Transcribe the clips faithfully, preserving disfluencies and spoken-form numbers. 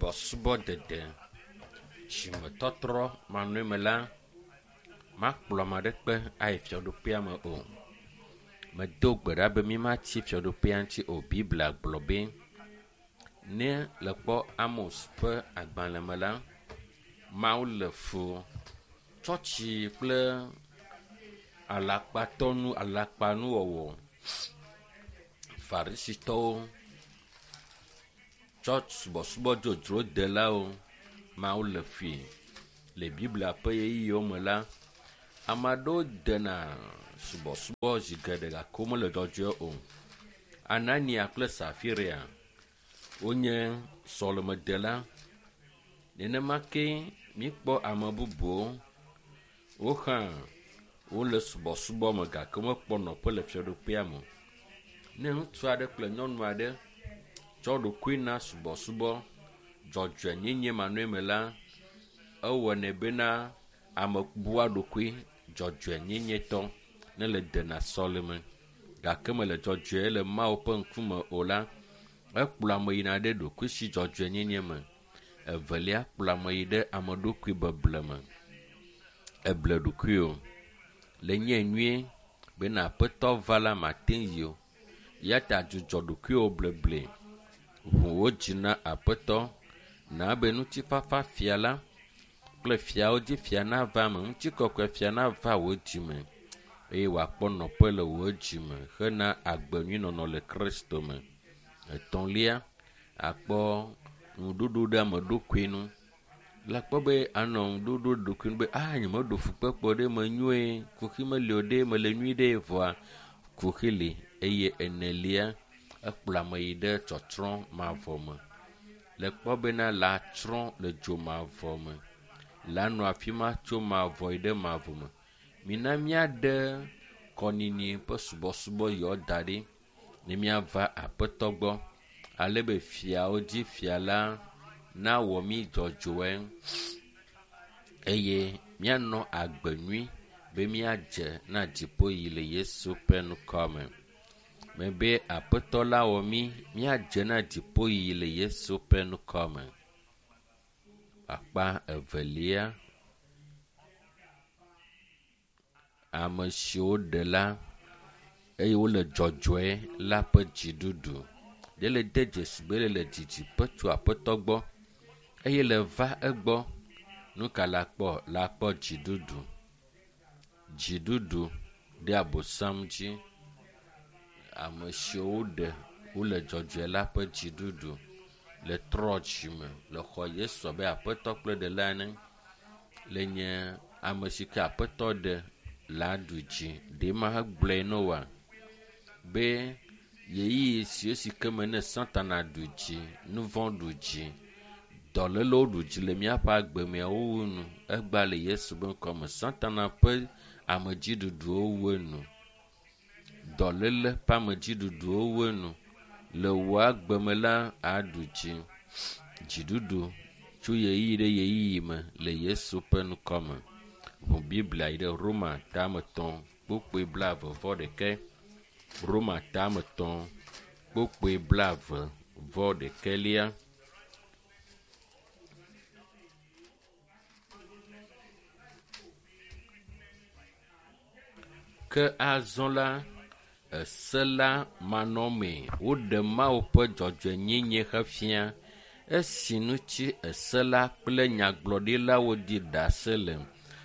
Subɔsubɔ dede dzimetɔtrɔ manɔe la, makplɔ ame aɖeke ayi fiaɖuƒea me o. Medo gbe ɖa be mímatsi fiaɖuƒea ŋuti o. Biblia gblɔ be ne le kpɔ Amos ƒe agbalẽ me la, Mawu le fu tsɔtsi kple alakpatɔnu alakpanuwɔwɔ. Farisitɔwo tsɔ subɔsubɔ dzodzro delawo Mawu le fui. Le Biblia ƒe ʋeyiʋiwo me la, ame aɖewo dena subɔsubɔ zi geɖe gake womele dzɔdzɔe o. Anania kple Safiria wonye sɔlemedela. Nenema ke míkpɔ ame bubuwo wo hã wole subɔsubɔ me gake womekpɔ nɔƒe le fiaɖuƒea me o. Ne ŋutsu aɖe kple nyɔnu aɖe tsɔ ɖokui na subɔsubɔ dzɔdzɔenyenye manɔe me la, ewɔnɛ bena ame bua ɖokui dzɔdzɔenyenyetɔ ne le dena sɔleme gake mele dzɔdzɔe le Mawu ƒe ŋkume o la, ekplɔ ame yina ɖe ɖokuisi dzɔdzɔenyenye me. Evelia kplɔ ame yi ɖe ame ɖokui beble me. Eble ɖokuiwò le nye nyuie bena aƒetɔ va la mate yi o. Ya ta dzudzɔ ɖokuiwò bleble. Ʋu wò dzi na aƒetɔ na be ŋutifafa fia la kple fiawo dzi fia nava eme, ŋutikɔkɔe fia nava wò dzime eye wòakpɔ nɔƒe le wò dzime hena agbe nyui nɔnɔ le Kristo me. Etɔ̃lia, akpɔ ŋuɖoɖo ɖe ame ɖokui nu. Le akpɔ be anɔ ŋuɖoɖo ɖokui nu be a nyemeɖo fukpekpe ɖe menyoe, kuxi meli o ɖe mele nyui ɖe vɔa kuxi li eye enelia ekplɔ ame yi ɖe tsɔtsrɔ̃ mavɔ me. Le kpɔ bena la tsrɔ̃ le dzo mavɔ me. La nɔ afi ma tso mavɔ yi ɖe mavɔ me. Mina míaɖe kɔnini ƒe subɔsubɔ yawo da ɖi ne míava aƒetɔ gbɔ ale be fiawo dzi fia la nawɔ mí dzɔdzɔe eye míanɔ agbe nyui be míadze na dziƒoyiyi le Yesu ƒe ŋkɔ me. Mebe aƒetɔ la wɔ mí míadze na dziƒoyiyi le Yesu ƒe ŋkɔ me. Akpa evelia ame siwo ɖe la eye wole dzɔdzɔe la ƒe dziɖuɖu. Ɖe le de dzesi be le didiƒe tso aƒetɔ gbɔ eye le va egbɔ. Nu ka la kpɔ? La kpɔ dziɖuɖu. Dziɖuɖu ɖe abosam dzi. Ame siwo ɖe wole dzɔdzɔe la ƒe dziɖuɖu le trɔ dzime le xɔ Yesu abe aƒetɔ kple ɖela ene. Le nye ame si ke aƒetɔ ɖe la ɖu dzi. Ɖe ma hegblɔe na woa be ʋeyiʋi si si ke me ne Satana ɖu dzi, nu vɔ̃ ɖu dzi, dɔlélewo ɖu dzi le míaƒe agbe mea wowu nu. Egba le Yesu ƒe ŋkɔme. Satana ƒe amedziɖuɖuwo wu enu. Dɔléle ƒe amedziɖuɖuwo wu enu. Le wò agbe me la, aɖu dzi. Dziɖuɖu tso ʋeyiʋi ɖe ʋeyiʋi me le Yesu ƒe ŋkɔme. Ʋu Biblia yi ɖe Roma tame etɔ̃ kpukpui blaeve vɔ ɖekɛ. Roma tame etɔ̃ kpukpui blaeve vɔ ɖekɛlia. Ke azɔ la, ese la manɔmee woɖe Mawu ƒe dzɔdzɔenyenye hefia esi ŋuti ese la kple nyagblɔɖilawo di ɖase le.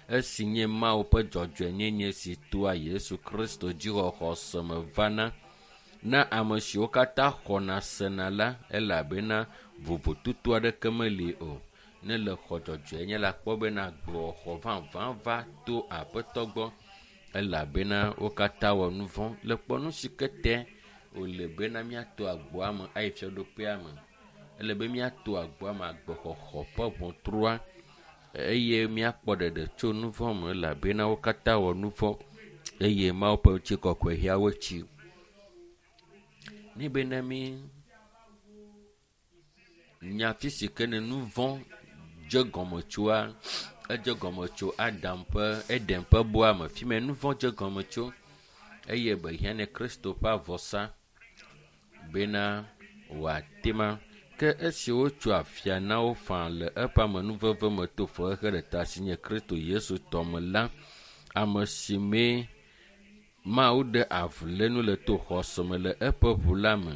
Esi nye Mawu ƒe dzɔdzɔenyenye si toa Yesu Kristo dzixɔxɔse me vana na ame siwo katã xɔna sena la elabena vovototo aɖeke meli o. Ne le xɔ dzɔdzɔenye la kpɔ bena agbewoxɔ vavã va to aƒetɔ gbɔ elabena wo katã wɔ nu vɔ̃. Le kpɔ nu si ke te wòle bena míato agboa me ayi fiaɖuƒea me. Ele be míato agboa me agbexɔxɔ ƒe ʋɔtrua eye míakpɔ ɖeɖe tso nu vɔ̃ me elabena wo katã wɔ nu vɔ̃ eye Mawu ƒe ŋutikɔkɔe hea wo tsi. Ne bena mí nya fi si ke ne nu vɔ̃ dze gɔme tsoa, edze gɔme tso Adam ƒe Eden ƒe bɔa me. Fi me nu vɔ̃ dze gɔme tso eye be hiã ne Kristo ƒe avɔsa bena wòate ma Ke esi wotso afia na wo faa le eƒe amenuveve me to fexexe ɖe ta si nye Kristo Yesu tɔ me la, ame si mee Mawu ɖe avulénu le to xɔse me le eƒe ʋu la me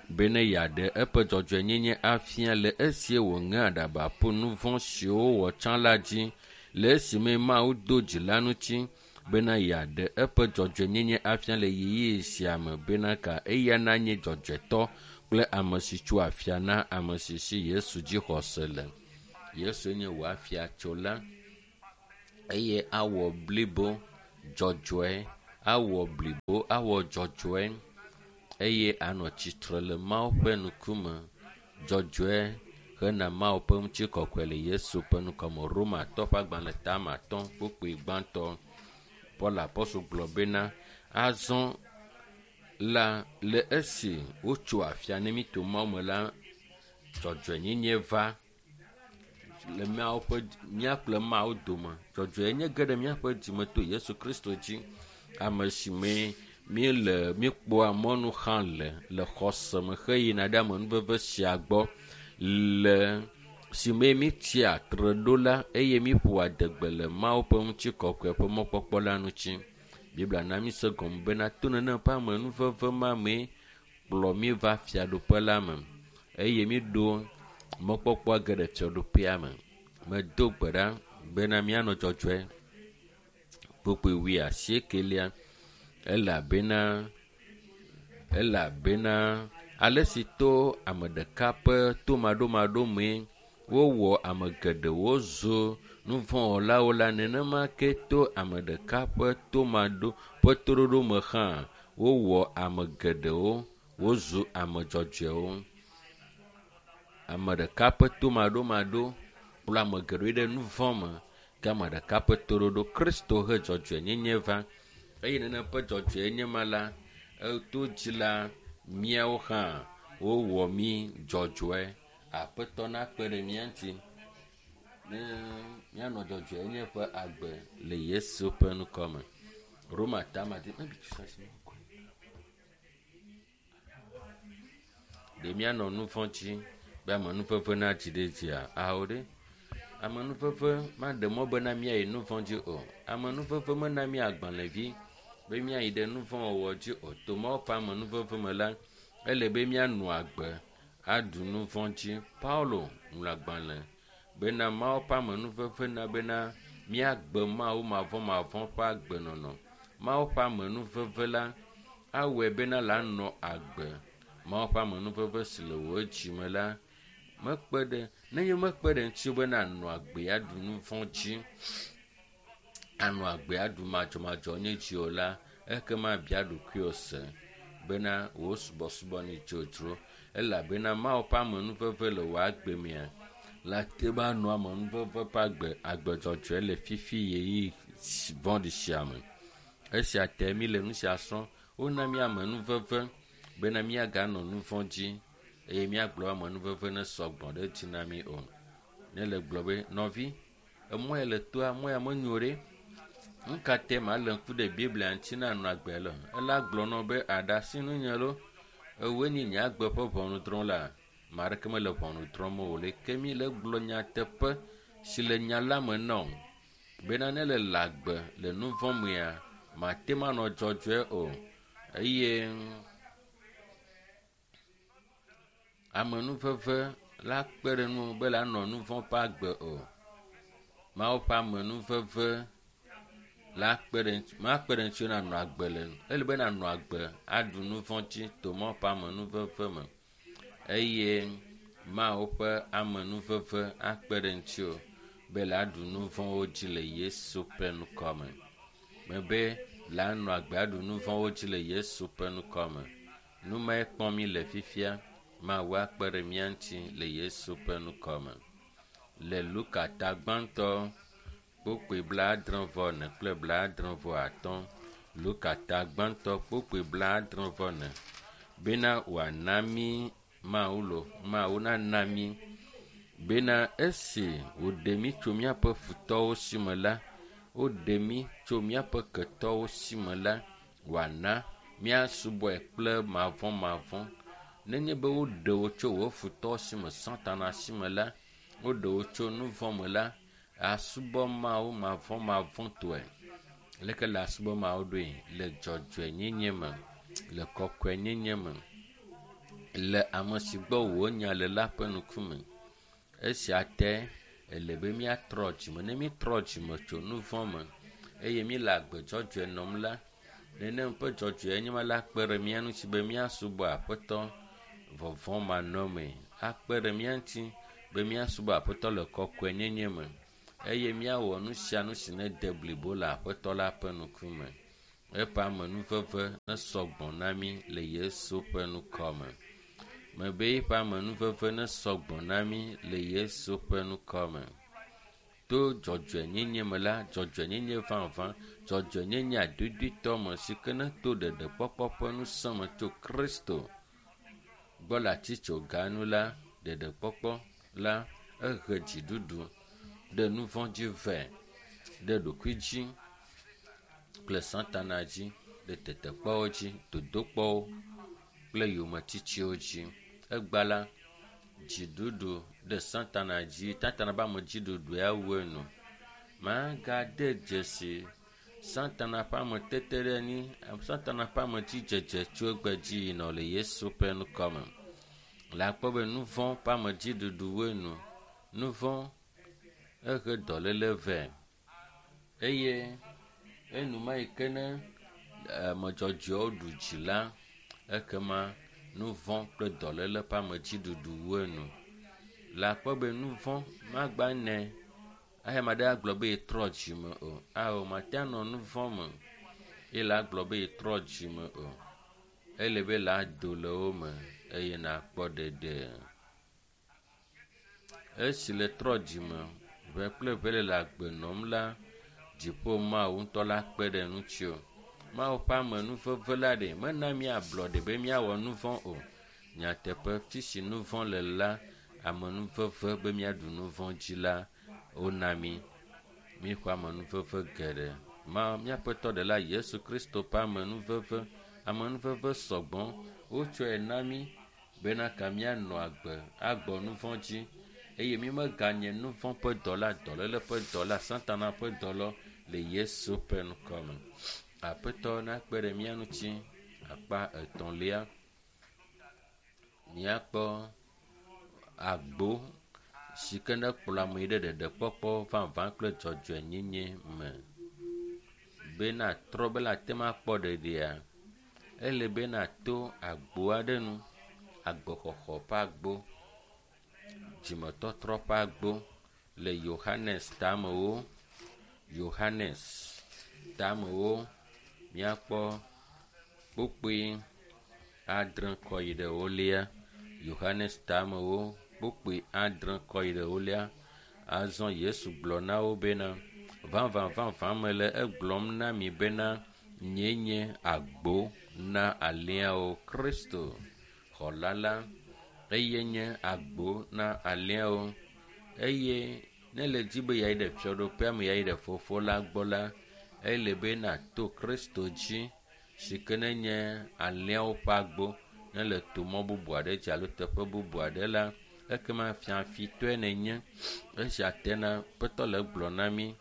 bene yeaɖe eƒe dzɔdzɔenyenye afia le esie wòŋe aɖaba ƒu nu vɔ̃ siwo wowɔ tsã la dzi le esime Mawu do dzi la ŋuti bena yeaɖe eƒe dzɔdzɔenyenye afia le ɣeyiɣi sia me bena ka eya nanye dzɔdzɔetɔ kple ame si tso afia na ame si si Yesu dzi xɔse le. Yesu nye wò afiatsola eye awɔ blibo dzɔdzɔe, awɔ blibo, awɔ dzɔdzɔe eye anɔ tsitre le Mawu ƒe ŋkume dzɔdzɔe hena Mawu ƒe ŋutikɔkɔe le Yesu ƒe ŋkɔme. Romatɔ ƒe agbalẽ tame atɔ̃ kpukpui gbãtɔ. Paul apɔstol gblɔ bena azɔ la le esi wotso afia ne mí to Mawu me la, dzɔdzɔenyenye va le míawo ƒe mía kple Mawu dome. Dzɔdzɔenyenye ge ɖe míaƒe dzime to Yesu Kristo dzi, ame si mee míele míekpɔa mɔnu hã le le xɔse me heyina ɖe amenuveve sia gbɔ le si mee míetsia tre ɖo la eye míeƒoa adegbe le Mawu ƒe ŋutikɔkɔe ƒe mɔkpɔkpɔ la ŋuti. Biblia na mí se gɔme bena to nenem ƒe amenuveve ma mee kplɔ mí va fiaɖuƒe la me eye míɖo mɔkpɔkpɔa ge ɖe fiaɖuƒea me. Medo gbe ɖa bena míanɔ dzɔdzɔe. Kpukpui wuiasiekelia elabena elabena ale si to ame ɖeka ƒe tomaɖomaɖo mee wowɔ ame geɖewo zu nuvɔ̃wɔlawo la, nenema ke to ame ɖeka ƒe tomaɖo ƒe toɖoɖo me hã wowɔ ame geɖewo wozu ame dzɔdzɔewo. Ame ɖeka ƒe tomaɖomaɖo kplɔ ame geɖewo ɖe nu vɔ̃ me ke ame ɖeka ƒe toɖoɖo Kristo he dzɔdzɔenyenye va eye nenem ƒe dzɔdzɔenyenye ma la, eto dzi la míawo hã wowɔ mí dzɔdzɔe. Aƒetɔ nakpe ɖe mía ŋuti ne míanɔ dzɔdzɔenyenye ƒe agbe le Yesu ƒe ŋkɔ me. Roma tama di ɖe míanɔ nu vɔ̃ dzi be amenuveve nadzi ɖe dzia? Ao ɖe. Amenuveve maɖe mɔ bena míayi nu vɔ̃ dzi o. Amenuveve mena mí agbalẽvi be míayi ɖe nu vɔ̃ wɔwɔ dzi o. To Mawu ƒe amenuveve me la, ele be míanɔ agbe aɖu nu vɔ̃ dzi. Paulo ŋlɔ agbalẽ bena Mawu ƒe amenuveve na bena míagbe Mawu mavɔmavɔ ƒe agbenɔnɔ. Mawu ƒe amenuveve la awɔe bena la nɔ agbe. Mawu ƒe amenuveve si le wò dzime la mekpe ɖe nenye mekpe ɖe ŋuti bena ànɔ agbe aɖu nu vɔ̃ dzi, anɔ agbe aɖu madzɔmadzɔnye dzi o la, ekema bia ɖokuiwò se bena wò subɔsubɔ ne dzodzro elabena Mawu ƒe amenuveve le wò agbe mea la te be anɔ amenuveve ƒe agbe agbe dzɔdzɔe le fifi ɣeyiɣi vɔ̃ɖi sia me. Esia te mí le nu sia srɔ̃m. Wona mí amenuveve bena míaganɔ nu vɔ̃ dzi eye míagblɔ amenuveve ne sɔgbɔ ɖe dzi na mí o. Ne le gblɔ be nɔvi, emɔ ya le toa, mɔ ya menyo ɖe. Nu ka te malé ŋku ɖe Biblia ŋuti na nɔ agbe le? Ela gblɔ nɔ be aɖasi nunye lo, ewoe nye nye agbe ƒe ʋɔnudrɔ̃la. Ame aɖeke mele ʋɔnu drɔ̃m o le ke mí le gblɔ nyateƒe si le nya la me na wò bena ne le le agbe le nu vɔ̃ mea, mate ŋu anɔ dzɔdzɔe o eye amenuveve la kpe ɖe ŋuwò be la nɔ nu vɔ̃ ƒe agbe o. Mawu ƒe amenuveve la kpe ɖe ŋuti makpe ɖe ŋutiwò nanɔ agbe le ele be nanɔ agbe aɖu nu vɔ̃ dzi to Mawu ƒe amenuveve me eye Mawu ƒe amenuveve akpe ɖe ŋutiwò be la ɖu nu vɔ̃wo dzi le Yesu ƒe ŋkɔ me. Mebe la nɔ agbe aɖu nu vɔ̃wo dzi le Yesu ƒe ŋkɔ me. Nu mae kpɔm mí le fifia. Mawu akpe ɖe mía ŋuti le Yesu ƒe ŋkɔ me. Le Luka ta gbãtɔ kpukpui blaadre vɔ ene kple blaadre vɔ atɔ̃. Luka ta gbãtɔ kpukpui blaadre vɔ ene bena wòana mí Mawu lo Mawu nana mí bena esi wòɖe mí tso míaƒe futɔwo si me la, woɖe mí tso míaƒe ketɔwo si me la, wòana míasubɔe kple mavɔmavɔ̃ Nenye be woɖe wo tso wò futɔ si me Satana si me la, woɖe wo tso nu vɔ̃ me la, asubɔ Mawu mavɔmavɔtɔe. Leke le asubɔ Mawu ɖoe? Le dzɔdzɔenyenye me, le kɔkɔenyenye me, le ame si gbɔ wò nya le la ƒe ŋkume. Esia te ele be míatrɔ dzime. Ne mítrɔ dzime tso nu vɔ̃ me eye míele agbe dzɔdzɔe nɔm la, nenem ƒe dzɔdzɔenyenye la kpe ɖe mía ŋuti be míasubɔ Aƒetɔ vɔvɔ̃ manɔmee. Akpe ɖe mía ŋuti be míasubɔ Aƒetɔ le kɔkɔenyenye me eye míawɔ nu sia nu si nede blibo le Aƒetɔ la ƒe ŋkume. Eƒe amenuveve nesɔ gbɔ na mí le Yesu ƒe ŋkɔ me. Mebe eƒe amenuveve nesɔ gbɔ na mí le Yesu ƒe ŋkɔ me. To dzɔdzɔenyenye me la, dzɔdzɔenyenye vavã, dzɔdzɔenyenye adodoetɔ me si ke neto ɖeɖekpɔkpɔ ƒe ŋusẽ me tso Kristo gbɔ le atitsoga nu la, ɖeɖekpɔkpɔ la ehe dziɖuɖu ɖe nu vɔ̃ dzi vɛ, ɖe ɖokui dzi kple Satana dzi, ɖe tetekpɔwo dzi, dodokpɔwo kple yometitiwo dzi. Egba la, dziɖuɖu ɖe Satana dzi, Satana ƒe amedziɖuɖu ya wu enu. Magade dzesi Satana ƒe ameteteɖeanyi, Satana ƒe amedzidzedze tso egbe dzi yina le Yesu ƒe ŋkɔ me. Le akpɔ be nu vɔ̃ ƒe amedziɖuɖu wu enu. Nu vɔ̃ ehe dɔléle vɛ eye enuma yi ke ne ame dzɔdzɔewo ɖu dzi la, ekema nu vɔ̃ kple dɔléle ƒe amedziɖuɖu wu enu. Le akpɔ be nu vɔ̃ magba nɛ eye ame aɖe agblɔ be yetrɔ dzime o. Ao, mate anɔ nu vɔ̃ me eye la agblɔ be yetrɔ dzime o. Ele be la do le wo me eye nakpɔ ɖeɖe. Esi le trɔ dzime ʋe kple ʋe le le agbe nɔm la, dziƒo Mawu ŋutɔ la kpe ɖe ŋuti o. Mawu ƒe amenuveve la ɖe mena mí ablɔɖe be míawɔ nu vɔ̃ o. Nyateƒe, fi si nu vɔ̃ le la, amenuveve be míaɖu nu vɔ̃ dzi la, wona mí. Míxɔ amenuveve geɖe. Ma míaƒe tɔ ɖela Yesu Kristo ƒe amenuveve, amenuveve sɔgbɔ wotsɔe na mí bena ka míanɔ agbe agbɔ nu vɔ̃ dzi eye mí meganye nu vɔ̃ ƒe dɔla, dɔléle ƒe dɔla, Satana ƒe dɔlɔ le Yesu ƒe ŋkɔ me. Aƒetɔ nakpe ɖe mía ŋuti akpa etɔ̃lia. Míakpɔ agbo si ke nekplɔ ame yi ɖe ɖeɖekpɔkpɔ vavã kple dzɔdzɔenyenye me. Be natrɔ be la te ŋu akpɔ ɖeɖea, ele be nato agbo aɖe nu, agbexɔxɔ ƒe agbo, dzimetɔtrɔ ƒe agbo le Yohanes tamewo. Yohanes tamewo míakpɔ kpukpui adre kɔ yi ɖe wolia. Yohanes tamewo kpukpui adre kɔ yi ɖe wolia. Azɔ Yesu gblɔ na wo bena, vavã vavã mele egblɔm na mi bena, nyee nye agbo na alẽawo. Kristo xɔla la, eye nye agbo na alẽawo. Eye ne le dzi be yeayi ɖe fiaɖuƒea me, yeayi ɖe fofo la gbɔ la, ele be nàto Kristo dzi si ke nenye alẽawo ƒe agbo. Ne le to mɔ bubu aɖe dzi alo teƒe bubu aɖe la, ekema fiafitɔe nenye. Esia tena Aƒetɔ le egblɔ na mí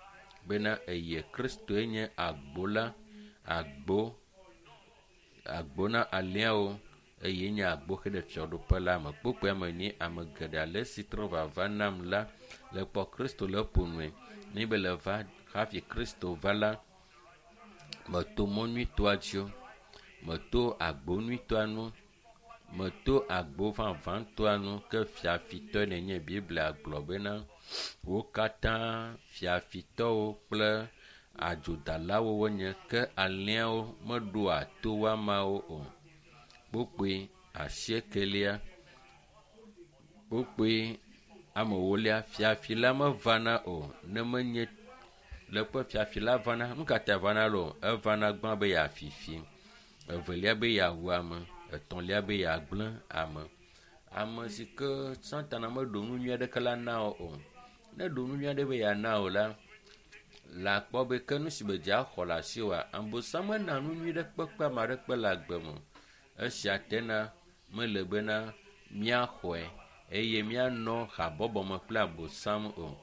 bena eye Kristoe nye agbo la, agbo, agbo na alẽawo eye nye agbo xe ɖe fiaɖuƒe la me. Kpukpuia me nyi ame geɖe ale si trɔ vava nam la le kpɔ Kristo le ƒonue. Ne be le va hafi Kristo va la, meto mɔ nyuitɔa dzi o, meto agbo nyuitɔa nu, meto agbo vavãtɔa nu ke fiafitɔe nenye. Biblia gblɔ bena wo katã fiafitɔwo kple adzodalawo wonye ke alẽawo meɖoa to woamawo o. Kpukpui asiekelia, kpukpui ame ewolia, fiafi la mevana o ne menye le ƒe fiafi la vana. Nu ka ta vana lo? Evana gbã be yeafi fi, evelia be yeawu ame, etɔ̃lia be yeagblẽ ame. Ame si ke Satana meɖo nu nyui aɖeke la na wo o. Ne ɖo nu nyui aɖe be yeana wo la, le akpɔ be ke nu si be dze axɔ le asiwòa, Abosam mena nu nyui ɖe kpekpe ame aɖeke le agbe me. Esia tena Mele bena míaxɔe eye míanɔ habɔbɔ me kple abosam o.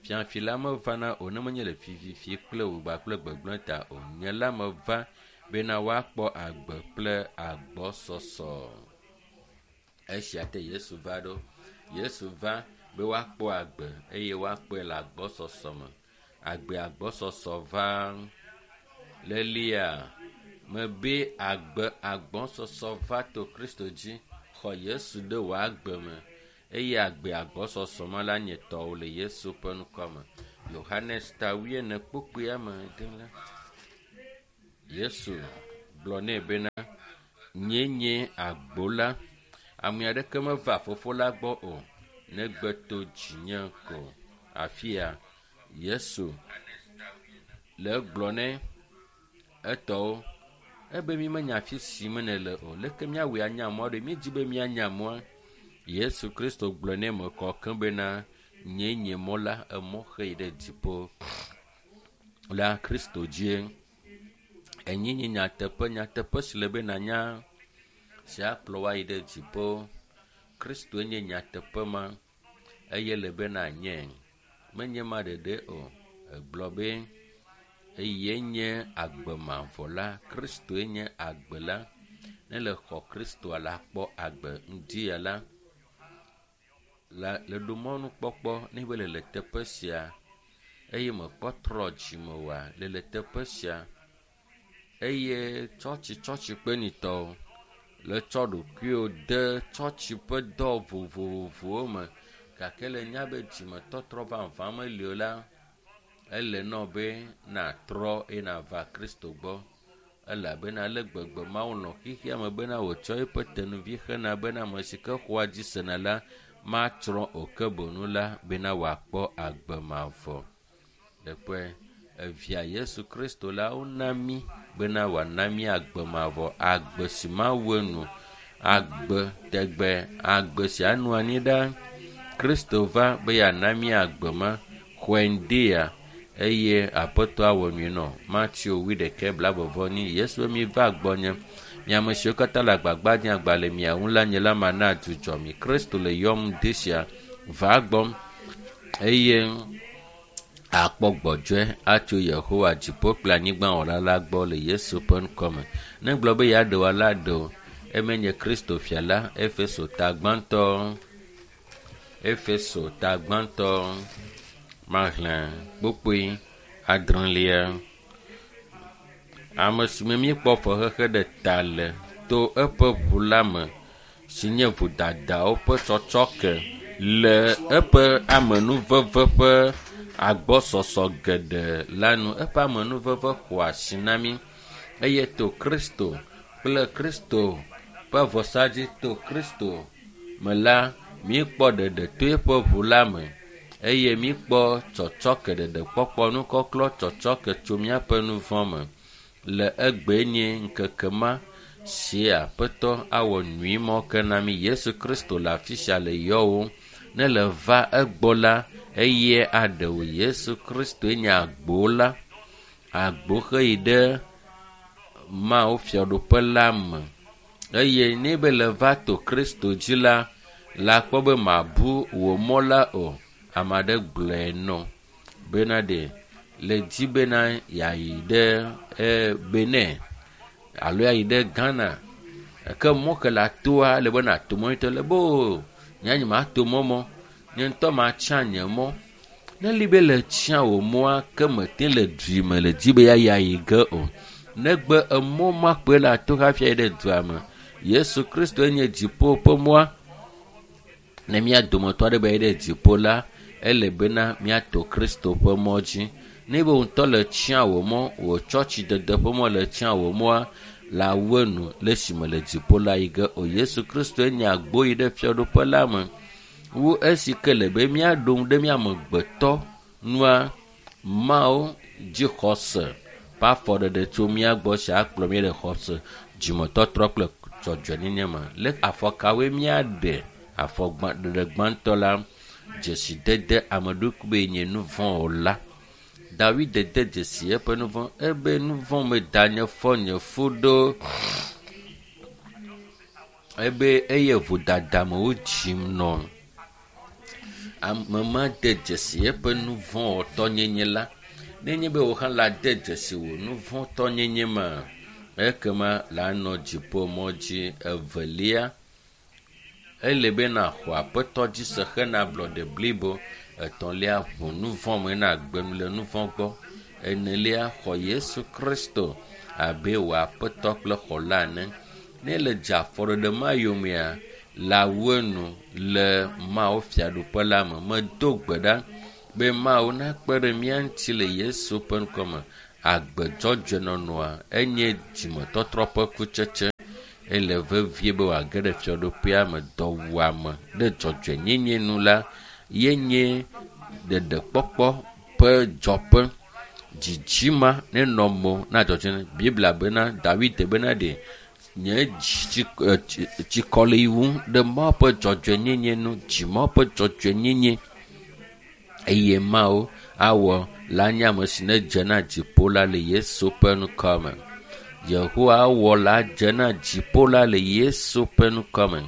Fiafi la mevana o ne menye le fififi kple wògba kple gbegblẽ ta o. Nye la meva bena woakpɔ agbe kple agbɔsɔsɔ. Esia te Yesu va ɖo. Yesu va be woakpɔ agbe eye woakpɔe le agbɔsɔsɔ me. Agbe agbɔsɔsɔ va lelia mebe agbe agbɔsɔsɔ va to Kristo dzi. Xɔ Yesu ɖe wò agbe me eye agbe agbɔsɔsɔ ma la nye tɔwò le Yesu ƒe ŋkɔ me. Yohanes ta wuiene kpukpuia me de la. Yesu gblɔ nɛ bena nye nye agbo la. Ame aɖeke meva fofo la gbɔ o negbe to dzinye ko. Afia Yesu le egblɔ nɛ etɔwo ebe mi menya afi si me nele o. Leke míawɔe anya mɔ ɖe? Míedzi be míanya mɔa. Yesu Kristo gblɔ nɛ me kɔ keŋ bena nye nye mɔ la emɔ xe yi ɖe dziƒo la Kristo dzie. Enyi nye nyateƒe nyateƒe si le be nanya si akplɔ woayi ɖe dziƒo. Kristoe nye nyateƒe ma eye le be nanye. Menye ma ɖeɖe o. Egblɔ be eye nye agbe mavɔ la. Kristoe nye agbe la. Ne le xɔ Kristoa la kpɔ agbe ŋdi ya la la le ɖo mɔnukpɔkpɔ ne be le le teƒe sia eye mekpɔ trɔ dzime oa le le teƒe sia eye tsɔtsi tsɔtsi kpenitɔwo le tsɔ ɖokuiwo de tsɔtsi ƒe dɔ vovovowo me gake le nya be dzimetɔtrɔ vavã meli o la ele nɔ be natrɔ eye nava Kristo gbɔ elabena le gbegbe Mawu lɔ̃ xexea me bena wòtsɔ eƒe tenuvi xena bena ame si ke xɔa dzi sena la matsrɔ̃ o ke boŋ la bena wòakpɔ agbe mavɔ. Ɖekpɔe evia Yesu Kristo la wona mí bena wòana mí agbe mavɔ, agbe si mawu enu, agbe tegbe, agbe si anɔ anyi ɖaa. Kristo va be yeana mí agbe ma. Xɔe ŋdi ya eye Aƒetɔ awɔ nyui nɔ. Mateo wuiɖekɛ blaeve nyi. Yesu be miva gbɔnye. Mi ame siwo katã le agbagba dzem agba le mia ŋu la nye la mana dzudzɔ mi. Kristo le yɔm ŋdi sia. Va gbɔm eye akpɔ gbɔdzɔe atso Yehowa dziƒo kple anyigba wɔla la gbɔ le Yesu ƒe ŋkɔ me. Ne gblɔ be yeaɖe wò la ɖe o. Eme nye Kristo fia la. Efeso ta gbãtɔ. Efeso ta gbãtɔ. Maxlẽ kpukpui adrelia. Ame si me míekpɔ fexexe ɖe ta le to eƒe ʋu la me si nye vodadawo ƒe tsɔtsɔke le eƒe amenuveve ƒe agbɔsɔsɔ geɖe la nu. Eƒe amenuveve xɔ asi na mí eye to Kristo kple Kristo ƒe vɔsa dzi to Kristo me la míekpɔ ɖeɖe to eƒe ʋu la me eye míekpɔ tsɔtsɔke ɖeɖekpɔkpɔ nukɔklɔ tsɔtsɔke tso míaƒe nu vɔ̃ me. Le egbe nye ŋkeke ma si Aƒetɔ awɔ nyui mɔ ke na mí. Yesu Kristo le afi sia le yɔwòm. Ne le va egbɔ la eye aɖe wò. Yesu Kristoe nye agbo la. Agbo xe yi ɖe Mawu fiaɖuƒe la me. Eye ne be le va to Kristo dzi la, la kpɔ be mabu wò mɔ la o. Ame aɖe gblɔe nɔ bena ɖe le dzi bena yeayi ɖe e Benin alo yeayi ɖe Ghana. Ke mɔ ke le atoa ele be nàto mɔ ŋutɔ le be o nye nye mato mɔ mɔ. Nye ŋutɔ matsia nye mɔ. Ne li be le tsia wò mɔa ke mete le dui me le dzi be yeayi ayi ge o. Negbe emɔ ma koe le ato hafi ayi ɖe dua me. Yesu Kristoe nye dziƒo ƒe mɔa. Ne mía dometɔ aɖe be yeayi ɖe dziƒo la, ele bena míato Kristo ƒe mɔ dzi. Ne be wò ŋutɔ le tsia wò mɔ, wò tsɔtsidede ƒe mɔ le tsia wò mɔa, la wu enu le esime le dziƒo la yi ge o. Yesu Kristoe nye agbo yi ɖe fiaɖuƒe la me. Wu esi ke le be míaɖo ŋu ɖe mía amegbetɔ nua Mawu dzixɔse ƒe afɔɖeɖe tso mía gbɔ si akplɔ mí ɖe xɔse dzimetɔtrɔ kple dzɔdzɔenyenye me. Le afɔ kawoe míaɖe afɔ gbã ɖeɖe gbãtɔ la dzesidede ame ɖokui be nye nu vɔ̃ o la. Dawid de dzesi eƒe nu vɔ̃ ebe nu vɔ̃ me da nye fɔ nye fu ɖo. Ebe eye vodada me wodzim nɔ. Ame ma de dzesi eƒe nu vɔ̃wɔtɔnyenye la. Nenye be wò hã la de dzesi wò nu vɔ̃tɔnyenye ma, ekema la nɔ dziƒo mɔ dzi. Evelia, ele be naxɔ aƒetɔ dzi se hena ablɔɖe blibo. Etɔ̃lia, ʋu nu vɔ̃ me na agbe nu le nu vɔ̃ gbɔ. Enelia, xɔ Yesu Kristo abe wò aƒetɔ kple xɔla ene. Ne le dze afɔɖeɖe ma yomea, la wu enu le Mawu fiaɖuƒe la me. Medo gbe ɖa be Mawu nakpe ɖe mía ŋuti le Yesu ƒe ŋkɔme. Agbe dzɔdzɔe nɔnɔa enye dzimetɔtrɔ ƒe kutsetse. Ele vevie be wòage ɖe fiaɖuƒea me. Dɔwuame ɖe dzɔdzɔenyenye nu la ye nye ɖeɖekpɔkpɔ ƒe dzɔƒe. Dzidzima nenɔ mo na dzɔdzɔe. Biblia bena Dawid bena ɖe nye dzi tsikɔ le wum ɖe Mawu ƒe dzɔdzɔenyenye nu, dzi Mawu ƒe dzɔdzɔenyenye eye Mawu awɔ la nye ame si ne dze na dziƒo la le Yesu ƒe ŋkɔ me. Yehowa awɔ la dze na dziƒo la le Yesu ƒe ŋkɔ me.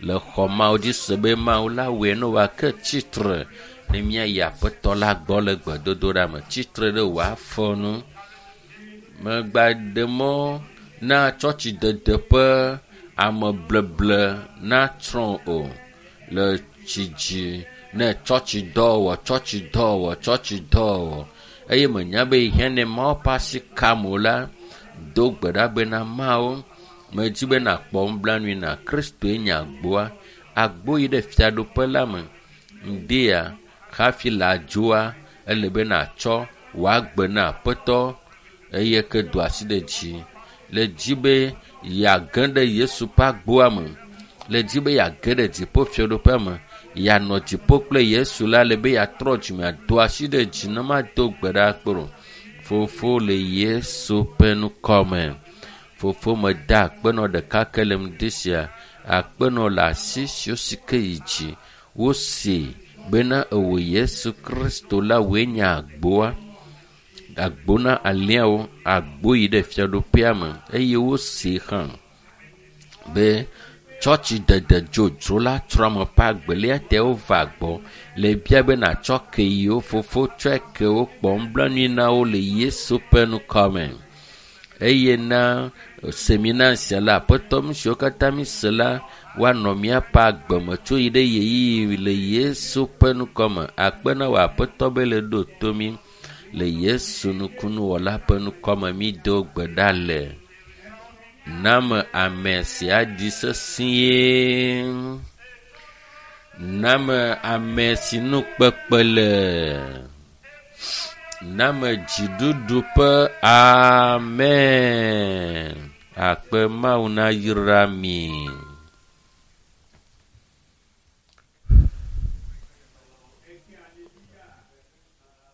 Le xɔ Mawu dzi se be Mawu la wɔe ne wòake tsitre ne míayi aƒetɔ la gbɔ le gbedodoɖa me. Tsitre ɖe wò afɔ nu. Megba ɖe mɔ na tsɔtsidede ƒe amebleble natsrɔ̃ o le tsi dzi ne tsɔtsidɔwɔ tsɔtsidɔwɔ tsɔtsidɔwɔ eye menya be hiã ne Mawu ƒe asi kam o la, do gbe ɖa bena Mawu medzi be nakpɔ nublanui na Kristoe nye agboa. Agbo yi ɖe fiaɖuƒe la me. Ŋdea hafi le adzoa ele be natsɔ wò agbe na aƒetɔ eye ke do asi ɖe dzi le dzi be yeage ɖe Yesu ƒe agboa me, le dzi be yeage ɖe dziƒo fiaɖuƒea me, yeanɔ dziƒo kple Yesu la le be yeatrɔ dzime ado asi ɖe dzi ne mado gbe ɖa kpɔ o. Fofo le Yesu ƒe ŋkɔ me. Fofo meda akpenɔ ɖeka ke le ŋdi sia. Akpenɔ le asi siwo si ke yi dzi. Wose bena ewò Yesu Kristo la wòe nye agboa. Agbo na alẽawo, agbo yi ɖe fiaɖuƒea me eye wose hã be tsɔtsidede dzodzro la trɔ ame ƒe agbe eya ta wova gbɔ le bia be natsɔ ke yewo fofo tsɔe ke wo kpɔ nublanui na wo le Yesu ƒe ŋkɔ me. Eye na semina sia la aƒetɔ nu siwo katã mi se la woanɔ míaƒe agbe me tso yi ɖe ɣeyiɣi le Yesu ƒe ŋkɔ me. Akpe na wò aƒetɔ be le ɖo to mí le Yesu nukunuwɔla ƒe ŋkɔ me mi do gbe ɖa le. Name ame sia di sesĩe. Name ame si nu kpekpe le. Name dziɖuɖu ƒe amen. Akpe Mawu nayra mi.